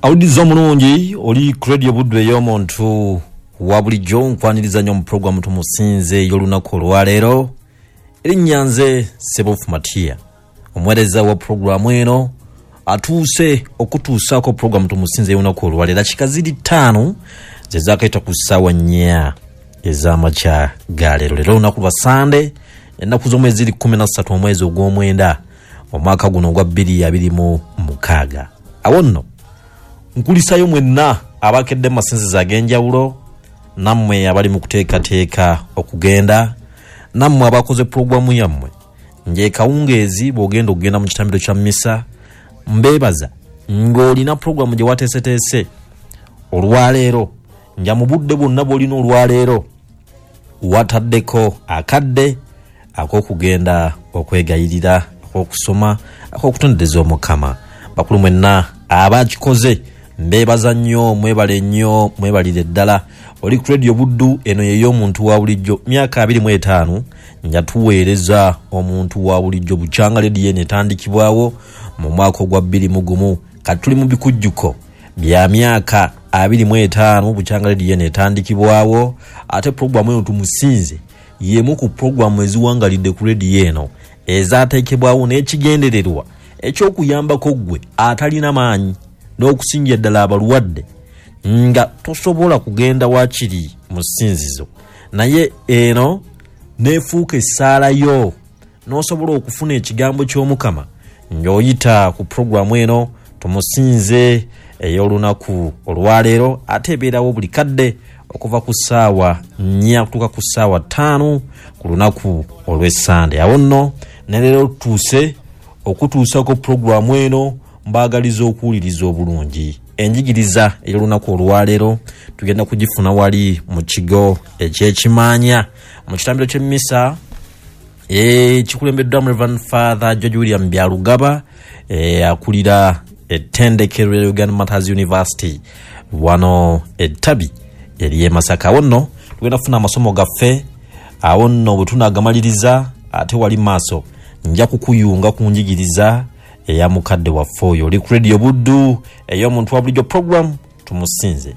Awuliriza omulungi oli ku Radio Buddu ey'omuntu wa bulijjo, nkwaniriza nnyo mu pulogulaamu Tumusinze ey'olunaku olwaleero. Erinnya nze Ssebuufu Matiya, omuweereza wa pulogulaamu eno atuuse okutuusaako pulogulaamu Tumusinze ey'olunaku olwaleero. Dakika ziri 5 ze zaakayita ku ssaawa 4 ez'amakya ga leero. Leero olunaku lwa Sande, ennaku z'omwezi ziri 13 omwezi ogw'omwenda omwaka guno ogwa 2026. Awo nno nkulisayo mwenna abakedde mu masinzizo ag'enjawulo, nammwe abali mu kuteekateeka okugenda, nammwe abakoze pulogulaamu yammwe ng'ekawungeezi bw'ogenda okugenda mu kitambiro kya misa, mbeebaza ng'olina pulogulaamu gye wateeseteese olwaleero, nga mu budde bwonna bw'olina olwaleero wataddeko akadde ak'okugenda okwegayirira, ak'okusoma, ak'okutondereza Omukama. Bakulu mwenna abakikoze mbeebaza nnyo, mwebale nnyo, mwebalire ddala. Oli ku Radio Buddu, eno y'ey'omuntu wa bulijjo, myaka 25 nga tuweereza omuntu wa bulijjo bukyanga rediyo eno etandikibwawo mu mwaka ogwa 2001. Kati tuli mu bikujjuko bya myaka 25 bukyanga rediyo eno etandikibwawo, ate pulogulaamu eno Tumusinze y'emu ku pulogulaamu eziwangalidde ku rediyo eno ezaateekebwawo n'ekigendererwa eky'okuyambako ggwe atalina maanyi n'okusingira ddala abalwadde nga tosobola kugenda waakiri mu ssinzizo, naye eno n'efuuka essaala yo n'osobola okufuna ekigambo ky'Omukama ng'oyita ku pulogulaamu eno Tumusinze ey'olunaku olwaleero, ate ebeerawo buli kadde okuva ku ssaawa 4 okutuuka ku ssaawa 5 ku lunaku olw'Essande. Awo nno ne leero tutuuse okutuusako pulogulaamu eno, mbaagaliza okuwuliriza obulungi. Enjigiriza ey'olunaku olwaleero tugenda kugifuna wali mu kigo eky'ekimaanya mu kitambiro ky'emmisa ekikulembeddwamu Reverend Father George William Byarugaba, akulira ettendekero lya Uganda Martyrs University wano ettabi ery'e Masaka. Awo nno tugenda kufuna amasomo gaffe, awo nno bwe tunaagamaliriza ate wali maaso nja kukuyunga ku njigiriza eya mukadde waffe oyo. Oli ku Radio Buddu ey'omuntu wa bulijjo, program Tumusinze.